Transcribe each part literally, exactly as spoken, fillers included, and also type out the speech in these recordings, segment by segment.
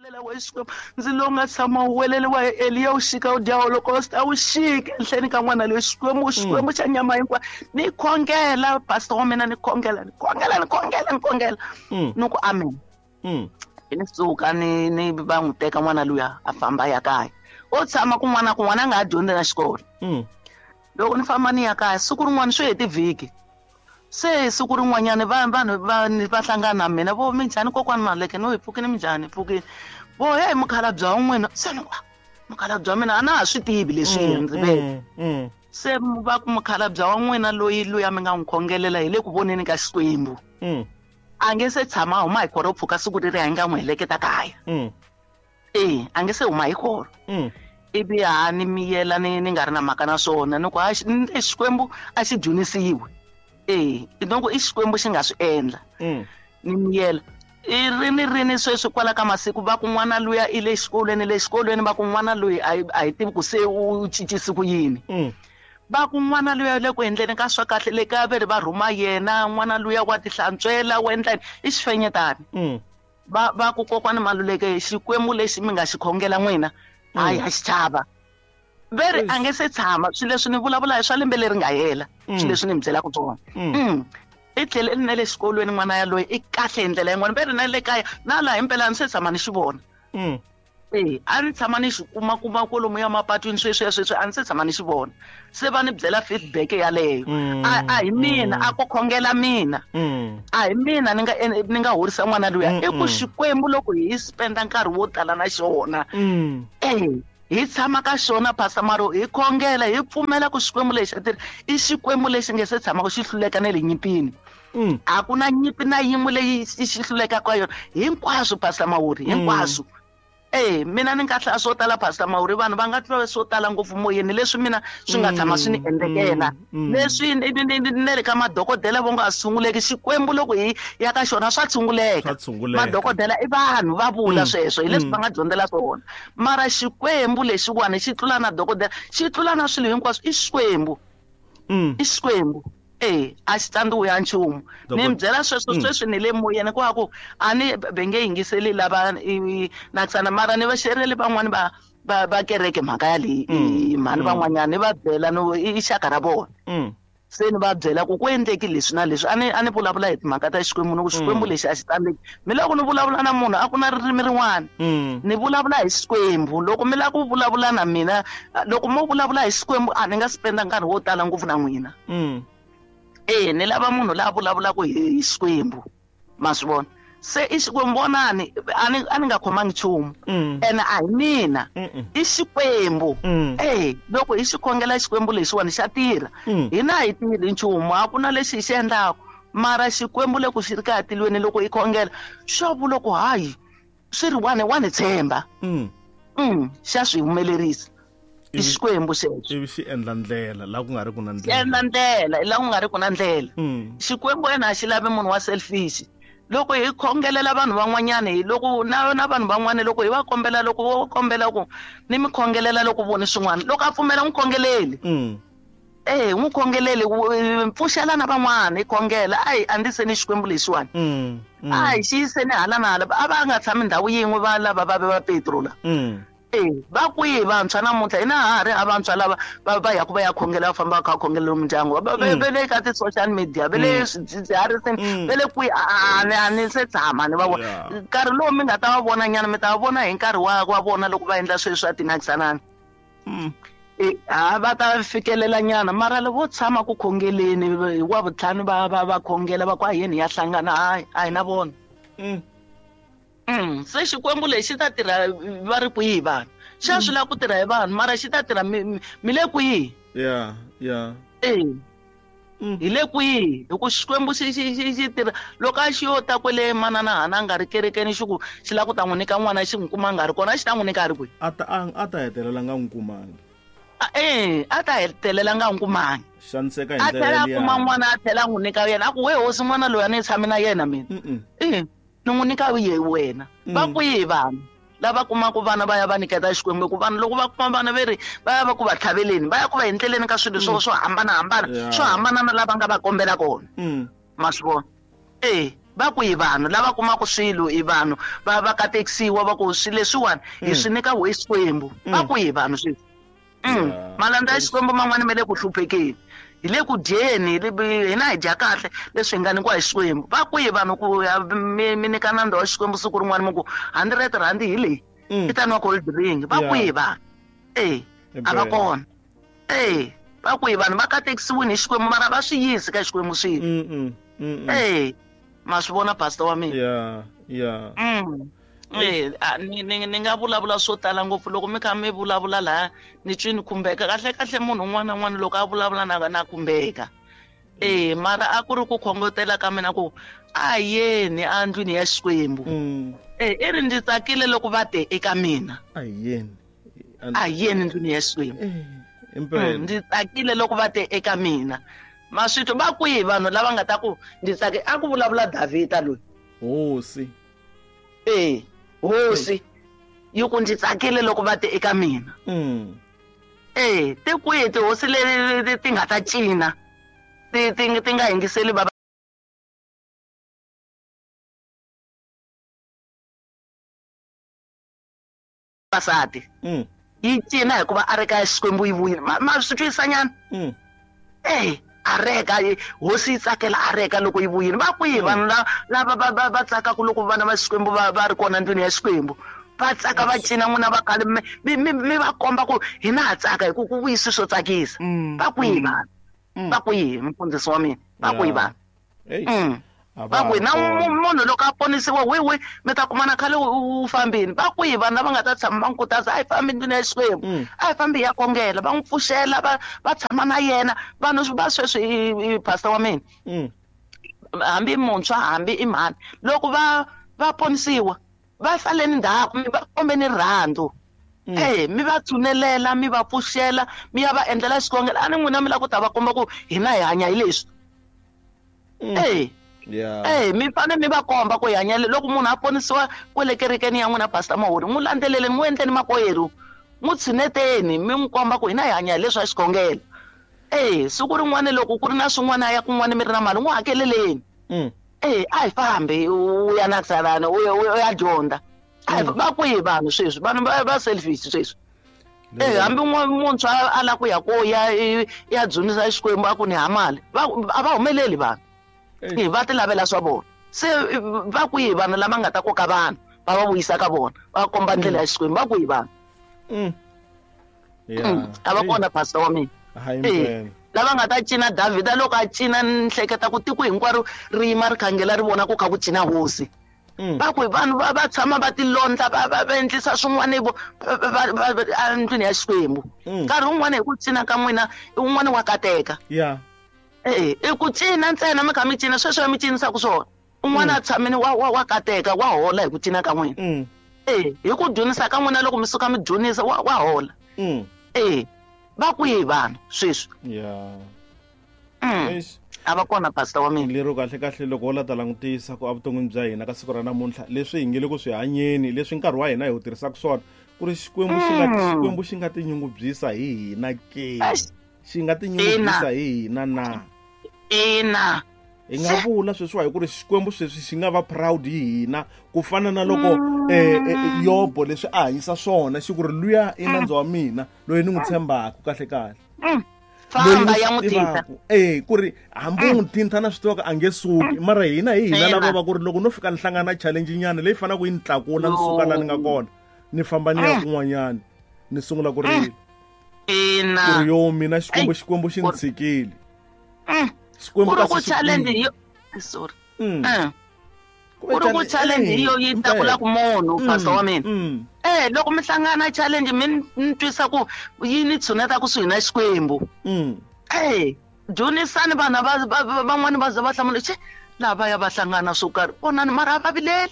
We Xikwembu ndzi lowu nga tshama wu weleliwa hi Eliya wu xika wu dya holocaust a wu xiki ehenhleni ka n'wana loyi Xikwembu Xikwembu xa nyama hinkwayo ni khongela pastor wa mina ni khongela ni khongela ni khongela ni khongela ni ku amen. Ni suka ni ni va n'wi teka n'wana luya a famba ya kaya o tshama kun'wana na kun'wana a nga ha dyondzi na xikolo. Loko ni famba ni ya kaya siku rin'wana swi heti vhiki se siku rin'wanyana va vanhu va va hlangana na mina vo minjhani kokwani Maluleke no hi pfukini minjhani hi pfukini vo hey mukhalabye wa n'wina se ni ku mukhalabye wa mina a na ha swi tivi leswi ndzi ve se va ku mukhalabye wa n'wina loyi luya mi nga n'wi khongelela hi le ku voneni ka Xikwembu a nge se tshama huma hi khoro pfuka siku leri a nga n'wi heleketa kaya e a nge se huma hi khoro ivi ha ni miyela ni ni nga ri na mhaka na swona ni ku ha Xikwembu a xi dyondzisiwe e loko i Xikwembu xi nga swi endla ni miyela i rini rini sweswi kwala ka masiku va ku n'wana luya i le xikolweni le xikolweni va ku n'wana loyi a hi tivi ku se u cincise ku yini va ku n'wana luya le ku endleni ka swa kahle le ka veri va rhuma yena n'wana luya wa tihlantswela wa endla i xifenyetani va va ku kokwani Maluleke Xikwembu lexi mi nga xi khongela n'wina hayi a xi chava veri a nge se tshama swilo leswi ni vulavula hi swa lembe leri nga hela swilo leswi ni mi byelaka swona i tlhele na le xikolweni n'wana yaloye i kahle hi ndlela yin'wana veri na le kaya na laha himpela a ni se tshama ni xi vona e a ni tshama ni xi kuma kuma kwalomu ya mapatwini sweswiya sweswi a ni se tshama ni xi vona se va ni byela feedback yaleyo a a hi mina a ko khongela mina a hi mina ni nga ni nga horisa n'wana luya i ku Xikwembu loko hi spenda nkarhi wo tala na xona e hi tshama ka xona Pastor Maro hi khongela hi pfumela ku Xikwembu lexi a tirha i Xikwembu lexi nge se tshamaka xi hluleka na le nyimpini a ku na nyimpi na yin'we leyi xi hlulekaka ka yona hinkwaswo Pastor Mawuri hinkwaswo e mina ni nga hlaya swo tala Pastor Mawuri vanhu va nga twa swo tala ngopfu moyeni leswi mina swi nga tshama swi ni endlekela leswi ne le ka madokodela vo nga tshunguleki Xikwembu loko hi ya ka xona swa tshunguleka madokodela i vanhu va vula sweswo hi leswi va nga dyondzela swona mara Xikwembu lexiwani xi tlula na dokodela xi tlula na swilo hinkwaswo i Xikwembu i Xikwembu e a xi tsandziwi ya nchumu ni mi byela sweswo sweswi ni le moyeni ku ku a ni ve nge yingiseli lava nakisana mara ni va xereli van'wani va va va kereke mhaka ya leyi mhani van'wanyana ni va byela no i xaka ra vona se ni va byela ku ku endleki leswi na leswi a ni a ni vulavula hi timhaka ta Xikwembu ni ku Xikwembu lexi a xi tsandzeki mi loko ni vulavula na munhu a ku na ririmi rin'wana ni vulavula hi Xikwembu loko mi lava ku vulavula na mina loko mo vulavula hi Xikwembu a ni nga spenda nkarhi wo tala ngopfu na n'wina e ni lava munhu la vulavulaka hi Xikwembu ma swi vona se i Xikwembu vonani a ni a ni nga khomangi nchumu ene a hi mina i Xikwembu e loko hi xi khongela Xikwembu lexiwani xa tirha hina a hi tirhi nchumu a ku na lexi hi xi endlaka mara Xikwembu loko xi ri kaya tilweni loko hi khongela xo vula ku hayi swi ri wani wa ni tshemba xa swi humelerisa i Xikwembu xexo ivi xi endla ndlela laha ku nga ri ku na ndlela endla ndlela laha ku nga ri ku na ndlela Xikwembu yena a xi lavi munhu wa selfish loko hi khongelela vanhu van'wanyana hi loko na na vanhu van'wana loko hi va kombela loko vo kombela ku ni mi khongelela loko voni swin'wana loko a pfumela n'wi khongeleli e n'wi khongeleli pfuxela na van'wana hi khongela a hi andziseni Xikwembu lexiwani a hi xi yiseni hala na hala a va nga tshami ndhawu yin'we va lava va ve va Petro la e va kwihi vantshwa namuntlha hina ha ri a vantshwa lava va va yaku va ya khongela va famba va kha khongela mindyangu va le ka ti-social media va le swidzidziharisini va le kwihi a ni a ni se tshama ni va vona nkarhi lowu mi nga ta va vona nyana mi ta va vona hi nkarhi wa wa vona loko va endla sweswi swa tinakisanani e ha va ta fikelela nyana mara loko vo tshama ku khongeleni hi wa vutlhanu va va va khongela va ku a yini ya hlangana hayi a hi na vona Mm se Xikwembu lexi ta tirha va ri kwihi vanhu xa swi lava ku tirha hi vanhu mara xi ta tirha mi le kwihi yeah yeah e hi le kwihi hi ku Xikwembu xi xi xi xi tirha loko a xi yo ta kwele manana hana a nga ri kerekeni xi ku xi lava ku ta n'wi nyika n'wana xi n'wi kuma a nga ri kona xi ta n'wi nyika a ri kwihi a ta a ta hetelela nga n'wi kumangi e a ta hetelela nga n'wi kumangi xaniseka hi a ndlela tlhela a liya. kuma n'wana a tlhela a n'wi nyika yena a ku we hosi n'wana loyi a ni tshami na yena mina e ni n'wi nyika ye wena va kwihi vanhu lava kumaka vana va ya va nyiketa Xikwembu ku vanhu loko va kuma vana ve ri va ya va ku va tlhaveleni va ya ku va endleleni ka swilo swo swo hambanahambana swo hambana na lava nga va kombela kona ma swi vona e Va ku hi vanhu lava kumaka swilo i vanhu va va katekisiwa va ku swilo leswiwani hi swi nyika we Xikwembu. Va ku hi vanhu sweswi. Malandza ya Xikwembu man'wana ma le ku hluphekeni, hi le ku dyeni, hina hi dya kahle leswi hi nga nyikiwa hi Xikwembu. Va ku hi vanhu ku ya mi mi nyika nandza wa Xikwembu siku rin'wana mi ku hundred rand hi leyi i ta nwa cold drink. Va ku hi vanhu. E a va kona. E va ku hi vanhu va katekisiwini hi Xikwembu mara va swi yisi ka Xikwembu swilo. E ma swi vona pastor wa mina. Yeah, yeah. Mm. Eh, ni ni ni nga vulavula swo tala ngopfu loko mi kha mi vulavula laha ni twi ni khumbeka kahle kahle munhu un'wana na un'wana loko a vulavula na na khumbeka. Eh, mara a ku ri ku khongotela ka mina ku a yeni endlwini ya Xikwembu. Eh, i ri ndzi tsakile loko va te eka mina. A yeni. A yeni endlwini ya Xikwembu. Eh, ndzi tsakile loko va te eka mina. Maswitho va kwihi vanhu lava nga ta ku ndzi tsake a ku vulavula Davhida loyi. Hosi. Eh, hosi yi ku ndzi tsakile loko va te eka mina. Mm. Eh, ti kwihi tihosi leti ti nga ta cina ti ti ti nga yingiseli va vavasati. Mm. Yi cina hikuva a ri ka Xikwembu yi vuyile. Ma swi twisanyana? Mm. Eh, areka hosi yi tsakela areka loko yi vuyile. Va kwihi vanhu lava va va va tsakaka loko vana va Xikwembu va va ri kona ndlwini ya Xikwembu? Va tsaka va cina n'wina va khale mi mi mi va komba ku hina ha tsaka hi ku ku vuyisi swo tsakisa. Va kwihi vanhu? Va kwihi mfundhisi wa mina? Va kwihi vanhu? Va kwihi na munhu loko a ponisiwa wi wi mi ta kumana khale u fambini. Va kwihi vanhu lava nga ta tshama va n'wi khutaza a hi fambi ndlwini ya Xikwembu, a hi fambi hi ya khongela, va n'wi pfuxela va va tshama na yena. Vanhu va sweswi pastor wa mina hambi muntshwa hambi i mhani loko va va ponisiwa va saleni ndzhaku mi va kombeni rirhandzu. Eh, mi va tsunelela mi va pfuxela mi ya va endlela xikhongelo. A ni n'wina mi lava ku ta va komba ku hina hi hanya hi leswi. Eh. Yeah. Eh, mi fanele mi va komba ku hi hanya loko munhu a ponisiwa kwale kerekeni ya n'wina pastor Mahori n'wi landzeleleni n'wi endleni makwerhu n'wi tshineteni mi n'wi komba ku hina hi hanya hi leswi a xikhongelo. Eh, siku rin'wana loko ku ri na swin'wana ya kun'wana mi ri na mali n'wi hakeleleni. Eh, a hi fambi u ya na salana u ya u ya dyondza. A va kwihi vanhu sweswi? Vanhu va va selfish sweswi. Eh, hambi muntshwa a lava ku ya ko ya ya dzunisa Xikwembu a ku ni ha mali va a va humeleli vanhu. Eh, va ti lavela swa vona. Se va kwihi vanhu lava nga ta koka vanhu va va vuyisa ka vona va komba ndlela ya Xikwembu? Va kwihi vanhu? Mm. Yeah. A va kona pastor wa mina. Hayi. Lava nga ta cina Davhida loko a cina ni hleketa ku tiko hinkwaro ri yima ri khangela ri vona ku kha ku cina hosi. Va ku vanhu va va tshama va tilondla va va va endlisa swin'wana vo endlwini ya Xikwembu. Nkarhi wun'wana hi ku cina ka n'wina un'wana wa kateka. Yeah. Eh, i ku cina ntsena mi kha mi cina sweswo mi cinisaka swona. Un'wana a tshamini wa wa wa kateka wa hola hi ku cina ka n'wina. Eh, hi ku dyondzisa ka n'wina loko mi suka mi dyondzisa wa wa hola. Eh, va kwihi vanhu sweswi? Yeah. Mm. A va kona pastor wa mina. Lero kahle kahle loko wo la ta langutisa ku evuton'wini bya hina ka siku ra namuntlha leswi hi nge le ku swi hanyeni leswi nkarhi wa hina hi wu tirhisaka swona ku ri Xikwembu xi nga Xikwembu xi nga tinyungubyisa hi hina ke xi nga tinyungubyisa hi hina na ina hi nga vula sweswiwa hi ku ri Xikwembu sweswi xi nga va proud hi hina ku fana na loko eh Yobo leswi a hanyisa swona xi ku ri luya i nandzu wa mina loyi ni n'wi tshembaka kahle kahle. Famba ya n'wi thinta. Eh, ku ri hambi u n'wi thinta na swi tivaka a nge suki mara hina hi hina lava va ku ri loko no fika ni hlangana na challenge nyana leyi fanaka yi ni tlakula ni suka laha ni nga kona ni famba ni ya kun'wanyana ni sungula ku rila. Ina. Ku ri yo mina Xikwembu Xikwembu xi ni tshikile. Xikwembu ka challenge yo sorry. Ku ri ku challenge yo yi tlakula ku munhu pastor wa mina. Eh, loko mi hlangana challenge mi ni twisa ku yi ni tshuneta kusuhi na Xikwembu. Eh, dyondzisani vanhu va van'wani va za va hlamula che lava ya va hlangana swo karhi vonani mara a va vileli.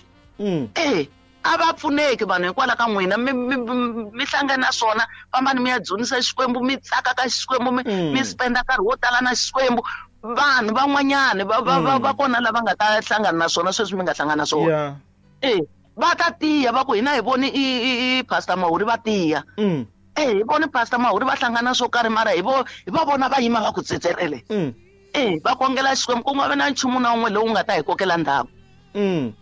Eh, a va pfuneki vanhu hikwalaho ka n'wina mi mi hlangana na swona fambani mi ya dzunisa Xikwembu mi tsaka ka Xikwembu mi mi spenda nkarhi wo tala na Xikwembu. Vanhu van'wanyana va va va kona lava nga ta hlangana na swona sweswi mi nga hlangana na swona. Eh, va ta tiya va ku hina hi voni i i pastor Mahori va tiya. Eh, hi voni pastor Mahori va hlangana swo karhi mara hi vo hi va vona va yima va ku tsetserele. Eh, va khongela Xikwembu ku nga vi na nchumu na wun'we lowu nga ta hi kokela ndzhaku. Mm.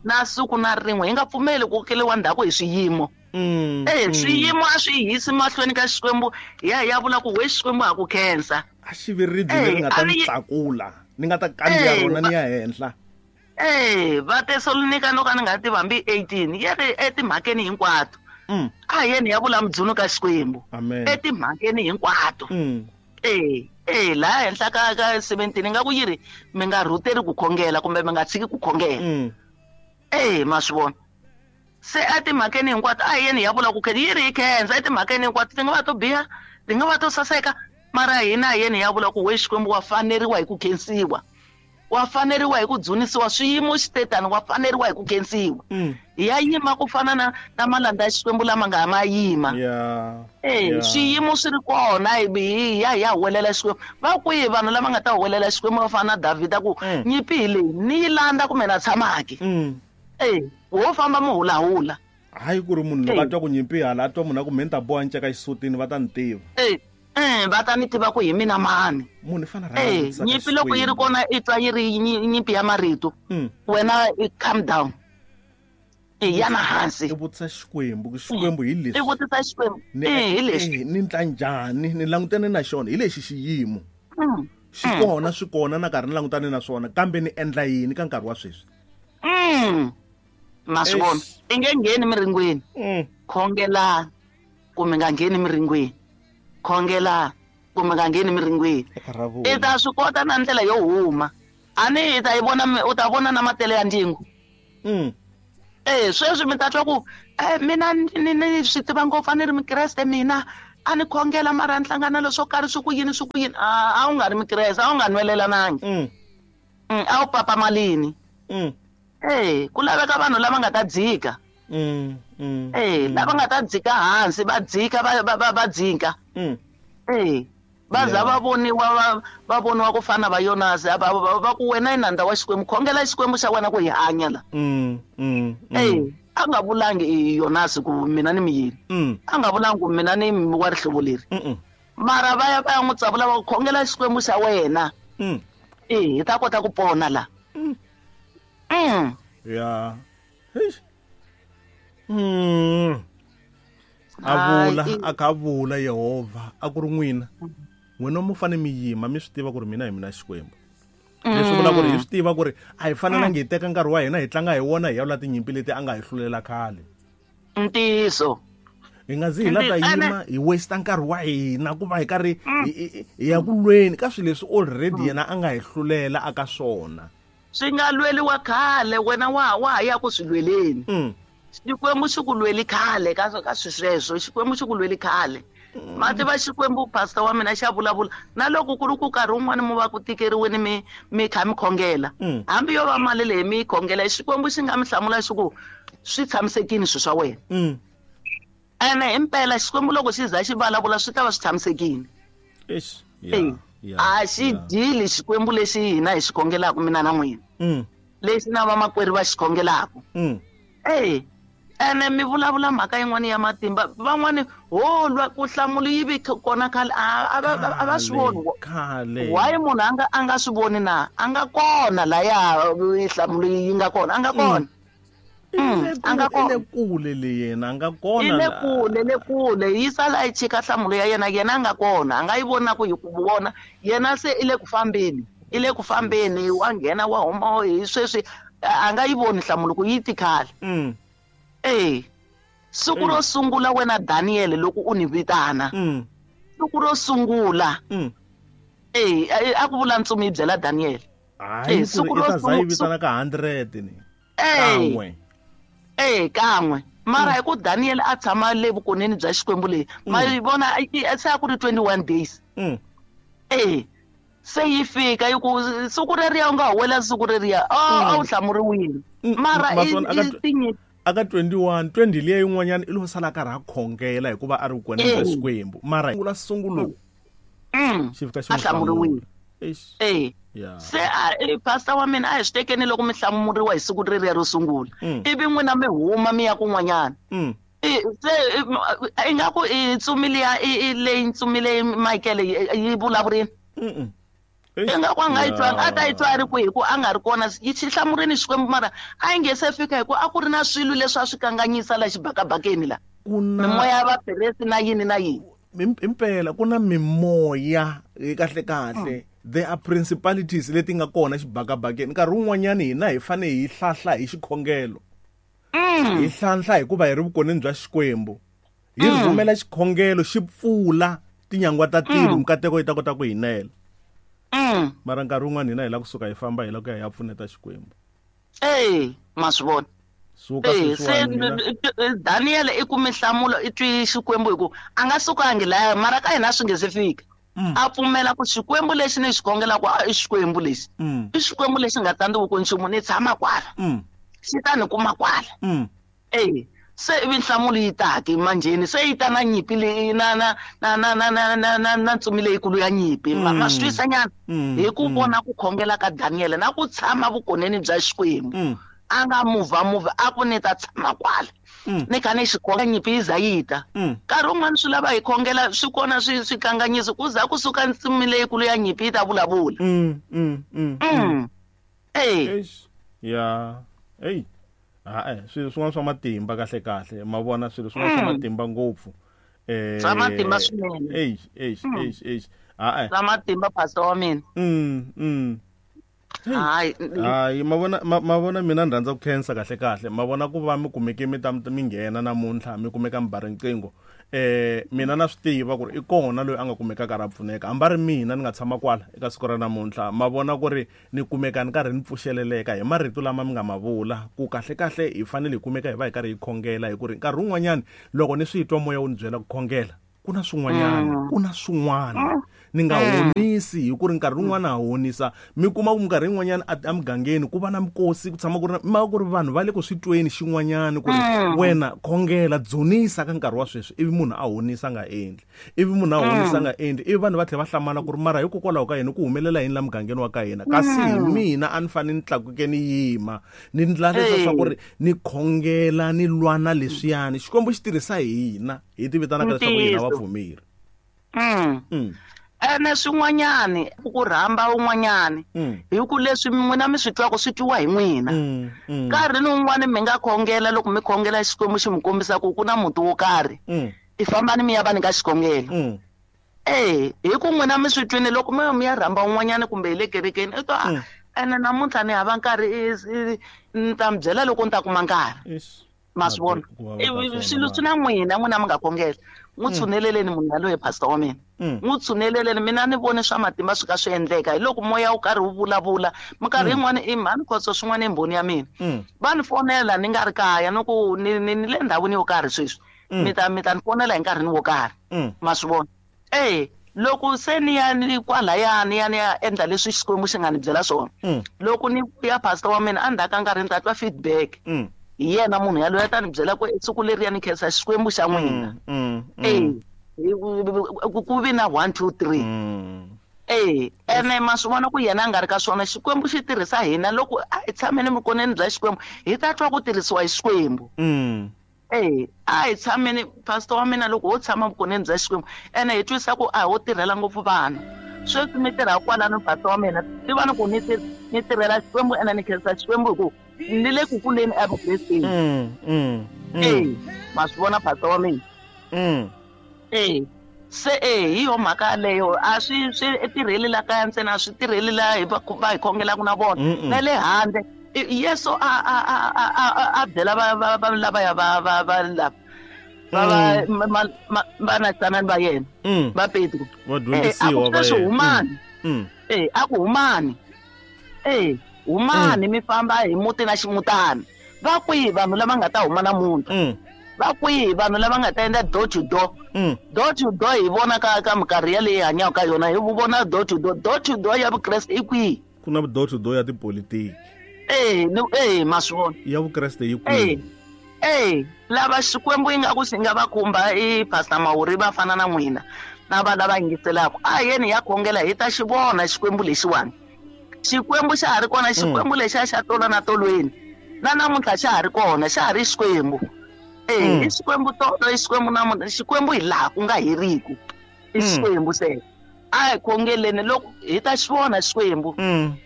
Na siku na rin'we hi nga pfumeli ku kokeriwa ndzhaku hi swiyimo. Mm. Eh, swiyimo a swi hisi mahlweni ka Xikwembu, hi ya hi ya vula ku we Xikwembu ha ku khensa. A xi vi ribye leri nga ta ni tlakula, ni nga ta kandziya rona ni ya henhla. Eh, va Tesalonika no ka ni nga tivi hambi eighteen, yi ri etimhakeni hinkwato. Mm. A hi yeni hi ya vula mudzuno ka Xikwembu. Amen. Etimhakeni hinkwato. Mm. Eh, eh, laha henhla ka ka seventeen ingaku yi ri mi nga rhuteri ku khongela kumbe mi nga tshiki ku khongela. Mm. Eh, ma swi vona. Se etimhakeni hinkwato a hi yeni hi ya vula ku khensa, yi ri hi khensa etimhakeni hinkwato, ti nga va to biha, ti nga va to saseka, mara hina hi yeni hi ya vula ku we Xikwembu wa faneriwa hi ku khensiwa. Wa faneriwa hi ku dzunisiwa, swiyimo xi te tani wa faneriwa hi ku khensiwa. Mm. Hi ya yima ku fana na, na malandza ya Xikwembu lama nga ma yima. Yeah. Eh, Yeah. swiyimo swi ri kona, hi, hi ya hi ya huwelela Xikwembu. Va kwihi vanhu lava nga ta huwelela Xikwembu va fana na Davhida ku Mm. nyimpi hi leyi ni yi landza kumbe na tshamaki. Mm. Eh, wo famba mi hulahula. Hayi ku ri munhu loko Eh. a twa ku nyimpi hala, a twa munhu a ku me ni ta boha nceka xisutini va ta ni tiva. Eh, eh, va ta ni tiva ku hi mina mani. Munhu i fanele a Eh, rhanga a vutisa ka nyimpi loko yi ri Xikwembu. kona i twa yi ri nyi-, nyimpi ya marito. Mm. Wena i calm down. I yana hansi. I vutisa Xikwembu, ku Xikwembu hi leswi. I vutisa Xikwembu. Ni Eh, hi leswi. eh, ni ndla njhani, ni langutane na xona hi lexi xiyimo. Mm. Xi kona, swi kona na karhi ni langutane na swona, kambe ni endla yini ka nkarhi wa sweswi? Mm. Ma swi vona. Eish. I nge ngheni miringweni. Mm. Khongela ku mi nga ngheni miringweni. Khongela ku mi nga ngheni miringweni. Eka ra vona. I ta swi kota na ndlela yo huma. A ni i ta yi vona mi, u ta vona na matele ya ndyangu. Mm. Eh, sweswi mi ta twa ku, eh, mina ni, ni swi tiva ngopfu, a ni ri Mukreste mina, a ni khongela mara ni hlangana na leswo karhi swi ku yini, swi ku yini. A, a wu nga ri Mukreste, a wu nga nwelelanangi. Mm. Mm, a wu papamalini. Mm. Eh, ku laveka vanhu lava nga ta dzika. Mm, mm, Eh, mm. lava nga ta dzika hansi, va dzika, va, va, va, va dzika. Mm. Eh, va za Yeah. va voniwa, va, va voniwa ku fana va Yonasi, va, va, va ku wena i nandza wa Xikwembu, khongela Xikwembu xa wena ku hi hanya la. Mm, mm, mm. Eh, a nga vulangi i Yonasi ku mina ni miyini. Mm. A nga vulangi ku mina ni wa rihlovo leri. Mm, mm. Mara va ya va ya n'wi tsavula va ku khongela Xikwembu xa wena. Mm. Eh, hi ta kota ku pona la. Mm. Mm. Yeah. Eish. Mm. A vula, Hayi, a kha vula Yehovha, a ku ri n'wina. N'wina mo fanele mi yima, mi swi tiva ku ri mina hi mina Xikwembu. Leswi vula ku ri hi swi tiva ku ri a hi fanelangi hi teka nkarhi wa hina hi tlanga hi wona hi ya lwa tinyimpi leti a nga hi hlulela khale. Ntiyiso. Hi nga zi hi la ta Ntiyiso. yima hi waste nkarhi wa hina ku va hi karhi hi, hi, hi ya ku lweni ka swilo leswi already yena a nga hi hlulela aka swona. Swi nga lweliwa khale, wena wa, wa ha ya ku swi lweleni. Mm. Xikwembu xi ku lweli khale ka, ka swilo sweswo, Xikwembu xi ku lweli khale. Ma tiva Xikwembu, pastor wa mina xa vulavula. Na loko ku ri ku nkarhi wun'wani mi va ku tikeriweni mi, mi kha mi khongela. Mm. Hambi yo va mali leyi mi yi khongela, Xikwembu xi nga mi hlamula xi ku swi tshamisekile swilo swa wena. Mm. Ene himpela Xikwembu loko xi za xi vulavula swi ta va swi tshamisekile. Eish. Eh, Yeah, yeah, a xi yeah. dili Xikwembu lexi hina hi xi khongelaka mina na n'wina. Mm. Lexi na vamakwerhu va xi khongelaka. Mm. Eh, ene mi vulavula mhaka yin'wana ya matimba. Van'wani ho lwa ku hlamula yi vi kona khale, a, a va, a va swi voni. Khale. Why munhu a nga, a nga swi voni na? A nga kona laya nhlamulo yi nga kona, a nga kona. Mm. Mm, a nga I le kona. kule le yena, a nga kona I le la. kule, le kule. Yi sala yi chika nhlamulo ya yena, yena a nga kona. A nga yi voni na ku yi ku vona. Yena se i le ku fambeni. I le ku fambeni, wa nghena, wa huma, hi sweswi, a nga yi voni nhlamulo ku yi ti khale. Mm. Eh, siku ro sungula wena Daniel loko u ni vitana. Mm. Siku ro sungula. Mm. Eh, a, a ku vula ntsumi yi byela Daniel. Hayi, Eh, siku ku ri i ro ta za yi sungu-, vitana ka hundred ni. Eh. Kan'we. Eh, kan'we. Mara hi ku Daniel a tshama le vukoneni bya Xikwembu leyi. Ma yi vona, i, i, se a ku ri twenty-one days. Mm. Eh, se yi fika yi ku siku reriya u nga huwelela siku reriya. Oh, a wu hlamuriwile. Mm, Mara ma i, swona, i aka tw- tinyi- aka twenty-one, twenty liya yin'wanyana i lo sala karhi a khongela hikuva a ri vukoneni bya Eh. Xikwembu. Mara sungula sungulo. Mm. Xi fika xi A n'wi hlamuriwile. hlamula. Eish. Eh. Yeah. Se a, eh, pastor wa mina a hi swi tekeni loko mi hlamuriwa hi siku reriya ro sungula. Mm. Ivi n'wina mi huma mi ya kun'wanyana. Mm. I, se, i, m-, ingaku i ntsumi liya, i, i, leyi ntsumi leyi Michael yi, yi vulavurile. Mm-mm. Ingaku a nga yi twanga a ta yi twa a ri kwihi ku a nga ri kona yi xi hlamurini Xikwembu mara a yi nge se fika hi ku a ku ri na swilo leswi a swi kanganyisa la xibakabakeni la mimoya ya vaperesi na yini na yini impela ku na mimoya kahle kahle there are principalities leti nga kona xibakabakeni nkarhi wun'wanyani hina hi fanele hi hlahla hi xikhongelo hi hlanhla hikuva hi ri vukoneni bya Xikwembu hi rhumela xikhongelo xi pfula tinyangwa ta tilo mikateko yi ta kota ku hi nela mara nkarhi wun'wana hina hi lava kusuka hi famba hi lava ku ya hi ya pfuneta Xikwembu eh ma swi vona suka sweswiwani Daniel i kume nhlamulo i twi Xikwembu hi ku a nga sukangi laya mara ka hina swi nge se fika a pfumela ku Xikwembu lexi ni xi khongelaka i Xikwembu lexi i Xikwembu lexi nga tsandziwi ku nchumu ni tshama kwala xi ta ni kuma kwala eh se ivi nhlamulo yi ta ke manjheni se yi ta na nyimpi leyi na na na na na na na na na ntsumi leyikulu ya nyimpi ma swi twisa nyana hi ku vona ku khongela ka Daniel na ku tshama vukoneni bya Xikwembu a nga muvha muvha a ku ni ta tshama kwala ni kha ni xikhongela nyimpi yi za yi ta nkarhi wun'wani swi lava hi khongela swi kona swi swi kanganyisi ku za kusuka ntsumi leyikulu ya nyimpi yi ta vulavula eh ya ey ha swilo swin'wana swa matimba kahle kahle ma vona swilo swin'wana swa matimba ngopfu eh swa matimba swinene ey ey ey ey ha swa matimba pastor wa mina mm mm hayi hayi ma vona ma vona mina ni rhandza ku khensa kahle kahle ma vona ku va mi kumeke mi ta mi nghena namuntlha mi kumeka mi ba riqingho eh mina na swi tiva ku ri i kona loyi a nga kumekaka ra pfuneka hambi ri mina ni nga tshama kwala eka siku ra namuntlha ma vona ku ri ni kumeka ni karhi ni pfuxeleleka hi marito lama mi nga ma vula ku kahle kahle hi fanele hi kumeka hi va hi karhi hi khongela hi ku ri nkarhi wun'wanyani loko ni swi twa moya wu ni byela ku khongela ku na swin'wanyana ku na swin'wana ni nga honisi hi ku ri nkarhi wun'wana ha honisa mi kuma ku minkarhi yin'wanyana emugangeni ku va na mikosi ku tshama ku ri ma ku ri vanhu va le ku swi tweni xin'wanyana ku ri wena khongela dzunisa ka nkarhi wa sweswi ivi munhu a honisa nga endli ivi munhu a honisa nga endli ivi vanhu va tlhela va hlamala ku ri mara hikokwalaho ka yini ku humelela yini la mugangeni wa ka hina kasi hi mina a ni fanele ni tlakuke ni yima ni ndla leswa swa ku ri ni khongela ni lwa na leswiyani Xikwembu xi tirhisa hina hi ti vitanaka leswaku hina vapfumeri mm ene swin'wanyani ku rhamba un'wanyani hi ku leswi n'wina mi swi twaka swi twiwa hi n'wina nkarhi ni un'wana mi nga khongela loko mi khongela Xikwembu xi mi kombisa ku ku na muti wo karhi i fambani mi ya va ni ka xikhongelo eh hi ku n'wina mi swi twini loko mi mi ya rhamba un'wanyani kumbe hi le kerekeni i twa ene namuntlha ni hava nkarhi ni ta mi byela loko ni ta kuma nkarhi ma swi vona swilo swi na n'wina n'wina mi nga khongela n'wi tshuneleleni munhu yaloye pastor wa mina n'wi tshuneleleni mina ni vone swa matimba swi ka swi endleka hi loko moya wu karhi wu vulavula minkarhi yin'wana i mhani khotso swin'wana i mbhoni ya mina va ni fonela ni nga ri kaya ni ku ni ni ni le ndhawini yo karhi sweswi mi ta mi ta ni fonela hi nkarhi ni wo karhi ma swi vona eh loko se ni ya ni kwalaya ni ya ni ya endla leswi Xikwembu xi nga ni byela swona loko ni vuya pastor wa mina endzhaku ka nkarhi ni ta twa feedback hi yena munhu yaloye a ta ni byela ku siku leriya ni khensa Xikwembu xa n'wina eh ku vi na one two three eh ene ma swi vona ku yena a nga ri ka swona Xikwembu xi tirhisa hina loko a hi tshameni vukoneni bya Xikwembu hi ta twa ku tirhisiwa hi Xikwembu eh a hi tshameni pastor wa mina loko ho tshama vukoneni bya Xikwembu ene hi twisa ku a ho tirhela ngopfu vanhu sweswi mi tirha kwalano pastor wa mina tiva ni ku ni ni tirhela Xikwembu ene ni khensa Xikwembu hi ku ni le ku kuleni evukresteni eh ma swi vona pastor wa mina eh se eh hi yo mhaka yaleyo a swi swi tirheli la kaya ntsena a swi tirheli la hi va va hi khongelaka na vona na le handle Yesu a a a a a byela va va va lavaya va va va lava va va va na tsanani va yena va Petro vadyondzisiwa va yena humani eh a ku humani eh humani mi famba hi muti na ximutana va kwihi vanhu lava nga ta huma namuntlha va kwihi vanhu lava nga ta endla door to door door to door hi vona ka ka minkarhi yaleyi hanyaka ka yona hi vona door to door door to door ya Vukreste i kwihi ku na door to door ya tipolitiki eh ni eh ma swi vona ya Vukreste yi kwihi eh lava Xikwembu yi nga ku xi nga va khumba i Pastor Mawuri va fana na n'wina na va lava yingiselaka a yeni ya khongela hi ta xi vona Xikwembu lexiwani Xikwembu xa ha ri kona Xikwembu lexiya xa tolo na tolweni na namuntlha xa ha ri kona xa ha ri Xikwembu eh i Xikwembu tolo i Xikwembu namuntlha Xikwembu hi laha ku nga heriki i Xikwembu se A hi khongeleni loko hi ta xi vona Xikwembu.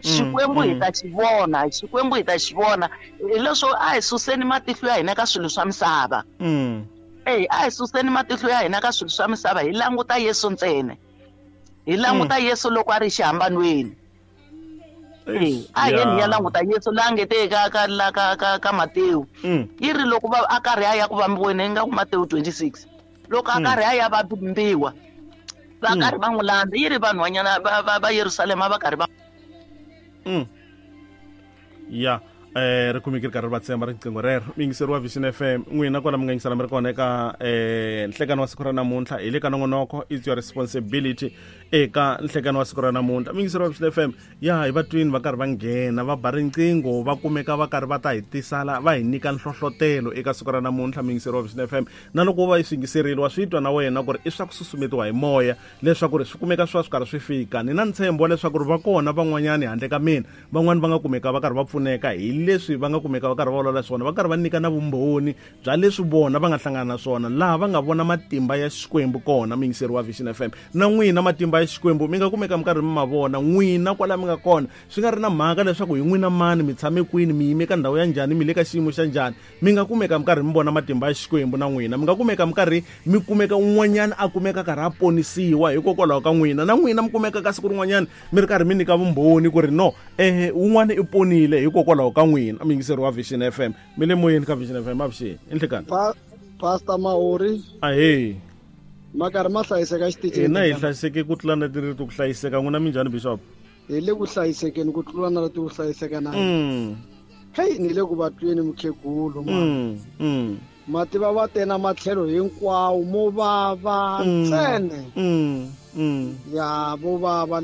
Xikwembu hi ta xi vona, Xikwembu hi ta xi vona. Hi leswo a hi suseni matihlo ya hina ka swilo swa misava. Ey, a hi suseni matihlo ya hina ka swilo swa misava, hi languta Yesu ntsena. Hi languta Yesu loko a ri xihambanweni. Ey, a hi yeni hi ya languta Yesu la nge te ka ka la ka ka ka Matewu. Yi ri loko va a karhi a ya ku vambiweni ingaku Matewu twenty-six. Loko a karhi a ya vambiwa, va karhi va n'wi landza, yi ri vanhwanyana va va va Yerusalema va karhi va Ya, eh ri kumeke ri karhi ri va tsemba riqingho rero. Muyingiseri wa Vision F M, n'wina kwala mi nga yingisela mi ri kona eka eh nhlekano wa siku ra namuntlha, hi le ka nongonoko It's Your Responsibility eka nhlekano wa siku ra namuntlha. Muyingiseri wa Vision F M, ya hi va twini va karhi va nghena va ba riqingho, va kumeka va karhi va ta hi tisala va hi nyika nhlohlotelo eka siku ra namuntlha. Muyingiseri wa Vision F M, na loko va yi swi yingiserile wa swi twa na wena ku ri i swa ku susumetiwa hi moya leswaku ri swi kumeka swi va swi karhi swi fika. Ni na ntshembo wa leswaku ri va kona van'wanyani handle ka mina, van'wani va nga kumeka va karhi va pfuneka hi leswi va nga kumeka va karhi va vulavula swona, va karhi va nyika na vumbhoni bya leswi vona va nga hlangana na swona, laha va nga vona matimba ya Xikwembu kona. Muyingiseri wa Vision F M, na n'wina matimba ya Xikwembu mi nga kumeka mi karhi mi ma vona n'wina kwala mi nga kona, swi nga ri na mhaka leswaku hi n'wina mani, mi tshame kwini, mi yime ka ndhawu ya njhani, mi le ka xiyimo xa njhani, mi nga kumeka mi karhi mi vona matimba ya Xikwembu na n'wina. Mi nga kumeka mi karhi mi kumeka un'wanyana a kumeka karhi a ponisiwa hikokwalaho ka n'wina, na n'wina mi kumeka ka siku rin'wanyana mi ri karhi mi nyika vumbhoni ku ri no, eh un'wana i ponile hikokwalaho ka n'wina. Muyingiseri wa Vision F M, mi le moyeni ka Vision F M, avuxeni i nhlekani. Pastor Mahori, ahee, ma karhi ma hlayiseka xitichini? Hina hi hlayiseke ku tlula na ti ku hlayiseka. N'wina minjhani Bishop? Hi le ku hlayisekeni ku tlula na leti ku hlayiseka na hei, ni le ku va tweni mukhegulu ma mativa va tena matlhelo hinkwawo mo vava ntsena ya vo vava.